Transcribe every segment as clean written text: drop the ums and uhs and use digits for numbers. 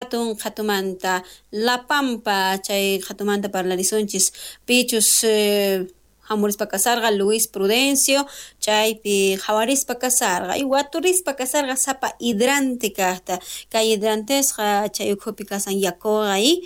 Hatun qhatumanta La Pampa chay qhatumanta parlarisunchis pichus hamurispa kasarqa Luis Prudencio chaypi qhawarispa kasarqa y waturispa kasarqa sapa hidrante kaqta kay hidrantesqa chay ukhupi kasan yakuqa y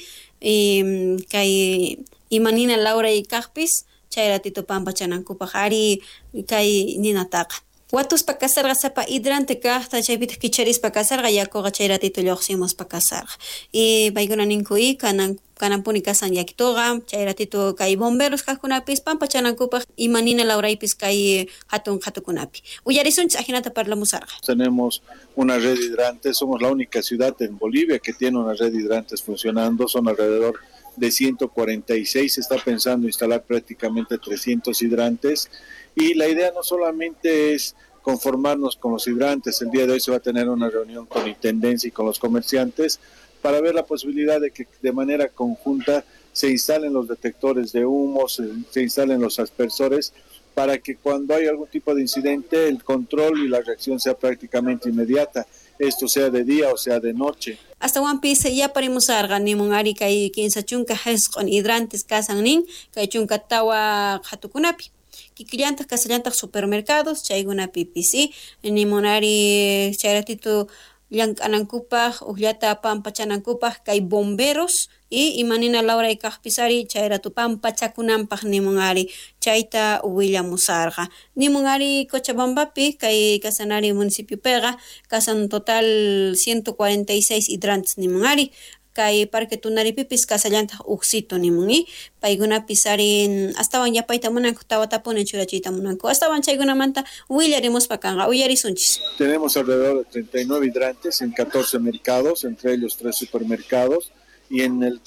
kay imanina lawray kaqpis chay ratito pampachanankupaq ari kay ninataqa watuspa kasarqa sapa hidrante kaqta chaypitaq kicharispa kasarqa yakuqa chay ratito lluqsimuspa kasarqa y paykuna ninku y kananpuni kasan yakituqa chay ratito kay bomberos kaqkunapis pampachanankupaq imanina lawraypis kay hatun qhatukunapi uyarisunchis ajinata parlamusarqa. Tenemos una red de hidrantes, somos la única ciudad en Bolivia que tiene una red de hidrantes funcionando, son alrededor de 146, se está pensando instalar prácticamente 300 hidrantes y la idea no solamente es conformarnos con los hidrantes, el día de hoy se va a tener una reunión con Intendencia y con los comerciantes para ver la posibilidad de que de manera conjunta se instalen los detectores de humo, se instalen los aspersores, para que cuando hay algún tipo de incidente el control y la reacción sea prácticamente inmediata, esto sea de día o sea de noche. Astawanpis yaparimusarqa nimun ari kay 34 hidrantes kasan nin kay 14 qhatukunapi kikillantaq kasallantaq supermercados chaykunapipis y nimun ari chay ratito llank'anankupaq uqllata pampachanankupaq kay bomberos y imanina lawray kaqpis ari chay rato pampachakunanpaq nimun ari chayta willamusarqa nimun ari Cochabambapi kay kasanari municipiopiqa kasan total 146 hidrantes nimun ari kay Parque Tunaripipis kasallantaq uqsito nimun y paykunapis ari astawan yapayta munanku tawatapuni churachiyta munanku astawan chaykunamanta willarimuspa kanqa uyarisunchis. Tenemos alrededor de 39 hidrantes en 14 mercados, entre ellos 3 supermercados, y en el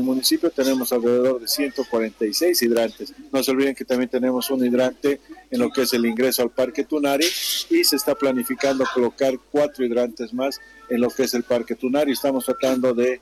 municipio tenemos alrededor de 146 hidrantes. No se olviden que también tenemos un hidrante en lo que es el ingreso al Parque Tunari y se está planificando colocar 4 hidrantes más en lo que es el Parque Tunari. Estamos tratando de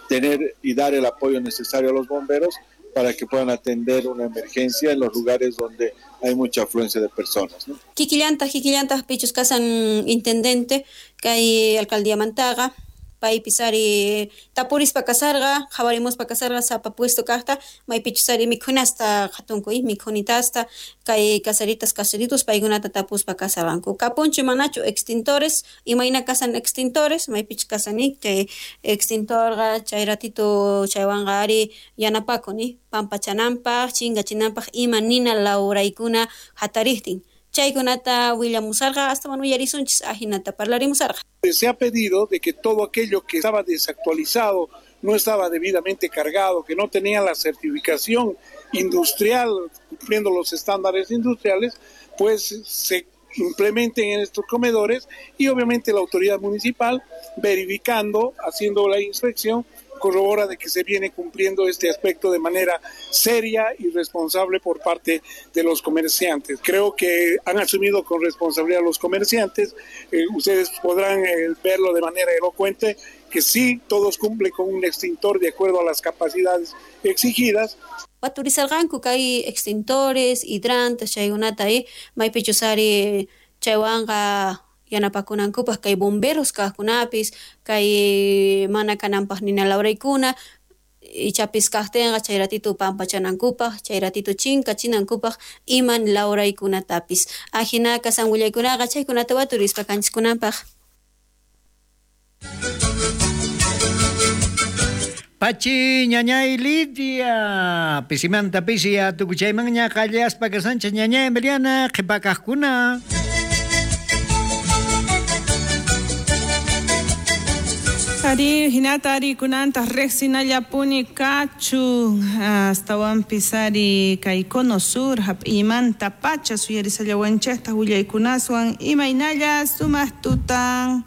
tener y dar el apoyo necesario a los bomberos para que puedan atender una emergencia en los lugares donde hay mucha afluencia de personas, ¿no? Kikillantaq pichus kasan intendente kay alcaldía Mantaga paypis ari tapurispa kasarqa qhawarimuspa kasarqa sapa puesto kaqta maypichus ari mikhunasta qhatunku y mikhunitasta kay kasaritas kasaritos paykunata tapuspa kasarqanku kapunchu manachu extintores imayna kasan extintores maypichus kasani chay extintorqa chay ratito chaywanqa ari yanapakun pampachananpaq chinkachinanpaq ima nina lawraykuna hatariqtin chaykunata willamusarqa astawan uyarisunchis ajinata parlarimusarqa. Se ha pedido de que todo aquello que estaba desactualizado, no estaba debidamente cargado, que no tenía la certificación industrial, cumpliendo los estándares industriales, pues se implementen en estos comedores y obviamente la autoridad municipal verificando, haciendo la inspección, corrobora de que se viene cumpliendo este aspecto de manera seria y responsable por parte de los comerciantes. Creo que han asumido con responsabilidad los comerciantes. Ustedes podrán verlo de manera elocuente que sí, todos cumplen con un extintor de acuerdo a las capacidades exigidas. Waturisarqanku kay extintores, hidrantes, chaykunata maypichus ari chaywanqa yanapakunankupaq kay bomberos kaqkunapis kay mana kananpaq nina lawraykuna ichapis kaqtinqa chay ratito pampachanankupaq chay ratito chinkachinankupaq iman lawraykunatapis ajina kasan willaykunaqa chaykunata waturispa kanchiskunanpaq. Pachi ñañay Lidia pisimanta pisi atukuchaymanña qallaspa kasancha ñañay Emiliana qhipakaqkuna. Ari hinata ari kunanta riqsinallapuni kachun astawanpis ari kay Cono Sur hap'imanta pacha suyarisallawanchikta willaykunaswan imaynalla sumaq tutan.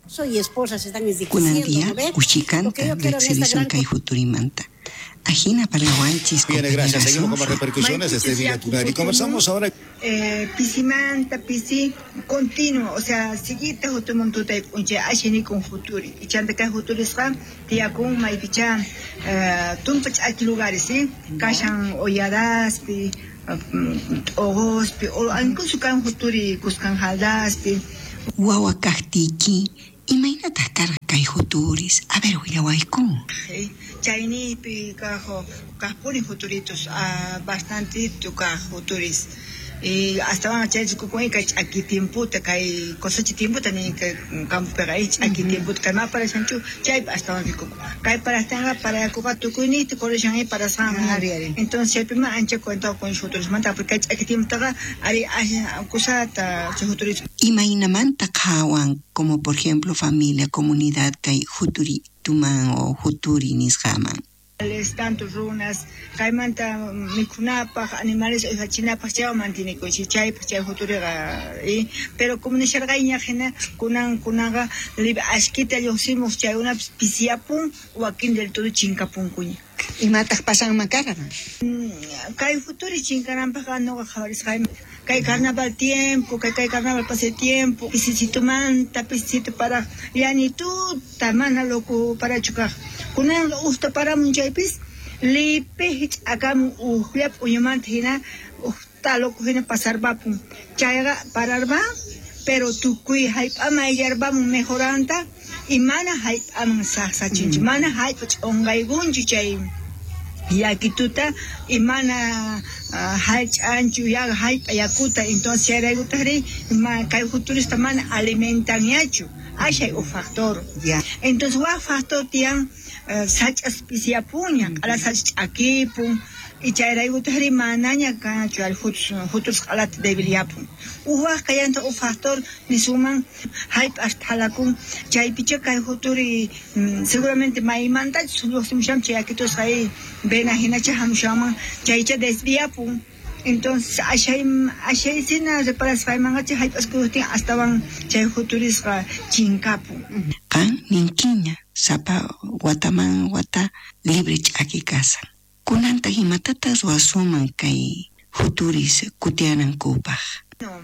Soy esposa, se están Kunan enriqueciendo, día ¿no ve? Lo kuchikanta que yo quiero en esta riqsirisun gran kay futurimanta. Ajina parlawanchis Bien, gracias. Seguimos con más compañerazo. repercusiones desde Villa Tunari. Conversamos ahora. Pisimanta, pisi continuo, o sea, siguita hutumuntuta uncha ashini con futuri. Ichanta kay futurisqa tiyakun maypicha tumpa ch'aki lugares, ¿sí? Kashan olladaspi, t'uquspi, o incluso kan futuri kuskan jaldaspi. Wawa kaqtiyki Imaynataq karqa kay juturis? A ver, willawayku. Chaynipi kajpuni juturitos, bastantito kaj juturis. Y astawan chay rikukun kay ch'aki tiemputa, kay cosecha tiemputa nin kay campopiqa ch'aki tiemputa kay ma parashanchu chaypi astawan rikukun. Kay parajtinqa parayakuqa tukuyniyta corrishan parasqanman. Entonces chaypima ancha cuentaqun juturismanta porque kay ch'aki tiemputaqa ari kusata chay juturis. Imaynamanta qhawan, como por ejemplo familia, comunidad kay juturituman o juturi nisqaman? Tanto runas, kaymanta mikhunapaj, animales uywachinapaj chaywan mantenikunchik, chaypaj chay juturiqa, pero como nisharqayña hina kunanqa ashkita lluqsimuq chaykunapis pisiyapun wakin del todo chinkapunkuña. Imataq pasanman karqan? Kay juturi chinkananpajqa nuqa qhawarisqayman kay carnaval tiempo, kay carnaval pasay tiempo, pisisitumanta pisisito paraj llanituta mana loco parachu kaq. Kunanqa uqta paramun chaypis lipi hich'akamun uqlla p'uñumanta hina uqta loco hina pasarpapun. Chayqa pararpan, pero tukuy hallp'aman ayllarpamun mejoranta y mana hallp'aman saqsachinchu, mana hallp'a ch'unqaykunchu chay yakituta y mana hallch'anchu hallp'a yakuta. Entonces chayraykutaqri kay juturista mana alimentanñachu, ashay uj factor. Entonces waj factor tiyan sach'as pisiyapunña, q'ala sach'a ch'akipun y chayraykutaqri manaña kanchu ari juturis q'alata debilyapun. Uj waj kallantaq uj factor nisunman hallp'as thalakun, chaypicha kay juturi seguramente maymantachus lluqsimushanman chay yakitusqa vena hinacha hamushanman chaycha desviapun. Entonces ashaysina reparasqaymanqa chay hallp'as kuyuqtin astawan chay juturisqa chinkapun. Qan ninkiña sapa wataman wata libre ch'aki kasan. Kunantaq imatataq ruwasunman kay juturis kutianankupaq? No,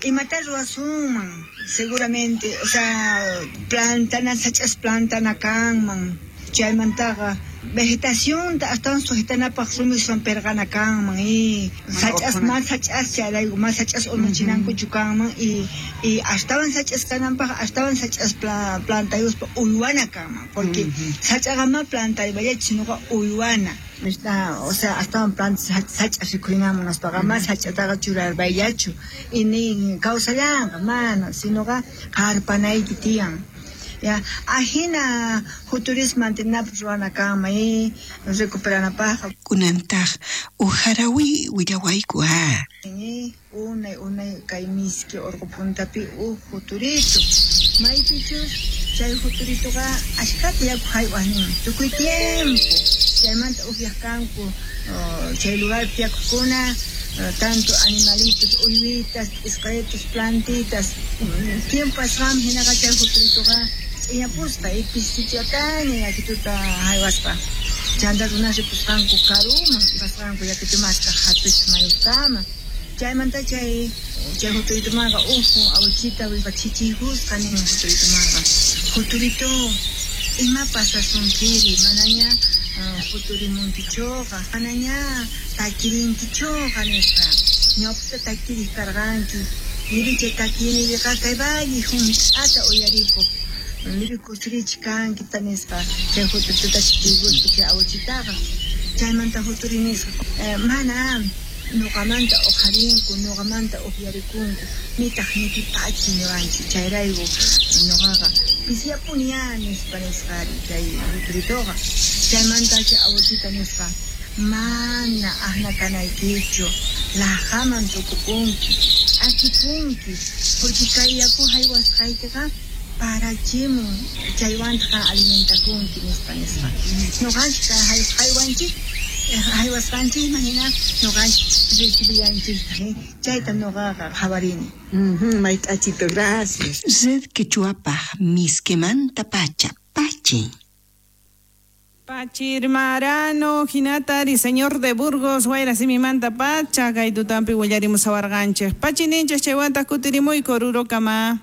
imata ruwasunman seguramente, o sea, plantana sach'as plantana kanman, chaymantaqa vegetacionta astawan sujetanapaq rumiswan perqana kanman y sach'as más sach'as chayrayku más sach'as urmachinankuchu kanman y astawan sach'as kananpaq astawan sach'as plantayuspa uywana kanman, porque sach'aqa ma plantaypallachu sinoqa uywana. O sea, astawan planta sach'as rikhurinaman nispaqa ma sach'ataqa churarpayllachu y nin kawsallanqa mana, sinoqa qarpanayki tiyan. Ya, ajina juturis mantenapaq ruwana kanman y recuperanapaqqa. Kunantaq uj harawi willawayku a. Unay unay kay miski urqu puntapi uj juturito. Maypichus chay juturitoqa ashkhata yaku haywaq nin tukuy tiempo. Chaymanta upyaq kanku chay lugarpi yakukuna tanto animalitos, uywitas, p'isqaritos, plantitas. Tiempo pasqanman hinaqa chay juturitoqa ch'iñapusqa y pisichataña yakituta haywaspa. Chanta runas ripusqanku karuman pasqanku yakitu mask'aq hatuchus mayuskama. Chaymanta chay juturitumanqa uju awichita chichiykusqa nin juturitumanqa. Juturito, ima pasasunkiri manaña juturimunkichuqa, manaña takirinkichuqa nispa. Ñawpata takiriq karqanki, libre chay takiynipiqa kay valle hunt'ata uyarikuq. Libre kusirichi kanki nispa chay juturituta chichiykuspa chay awichitaqa. Chaymanta juturi nisqa, mana nuqamanta uqharinku, nuqamanta upyarikunku, nitaq nipipachi niwanchu, chayrayku nuqaqa pisiyapuni ya nispa nisqari chay juturituqa. Chaymanta chay awichita nisqa, mana aqna kanaykichu, laqhaman tukupunki, ch'akipunki, porque kay yaku haywasqaykiqa parachimun, chaywantaq alimentakunki nispa nisqa. Nuqanchik haywanchik haywasqanchikman hina nuqanchik recibiyanchiktaq, chayta nuqaqa qhawarini. Mayk'achito, gracias. Red Quechuapaj miskimanta pacha, pachi. Pachirmarano, hinatari, señor de Burgos, wayrasimimanta pacha, kay tutampi willarimusawarqanchik. Pachi ninchik chaywantaq kutirimuy korurokama.